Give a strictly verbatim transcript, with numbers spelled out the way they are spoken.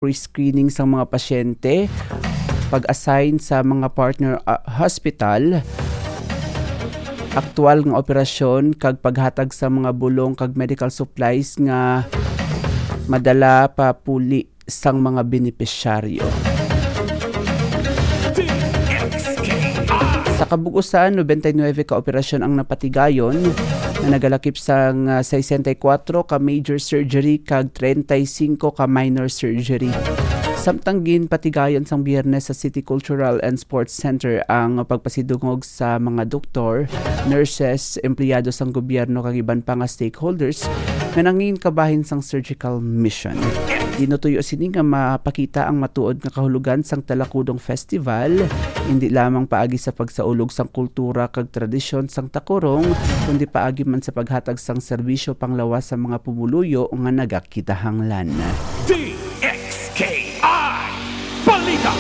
pre-screening sa mga pasyente, pag-assign sa mga partner, ah, hospital, aktual nga operasyon kag paghatag sa mga bulong kag medical supplies nga madala pa puli sang mga benepisyaryo. Sa kabug-usan, nobenta y nuebe ka operasyon ang napatigayon, nga nagalakip sang, ah, sesenta y kuwatro ka major surgery kag treinta y cinco ka minor surgery. Samtang ginpatigayon sang Biyernes sa City Cultural and Sports Center ang pagpasidungog sa mga doktor, nurses, empleyado sang gobyerno kag iban pa nga stakeholders nga nangin kabahin sang surgical mission. Ginutuyo sini nga mapakita ang matuod nga kahulogan sang Talakudong Festival, hindi lamang paagi sa pagsaulog sang kultura kag tradisyon sang Takurong, kundi paagi man sa paghatag sang serbisyo panglawas sa mga pumuluyo nga nagakinahanglan. D X K I Balita.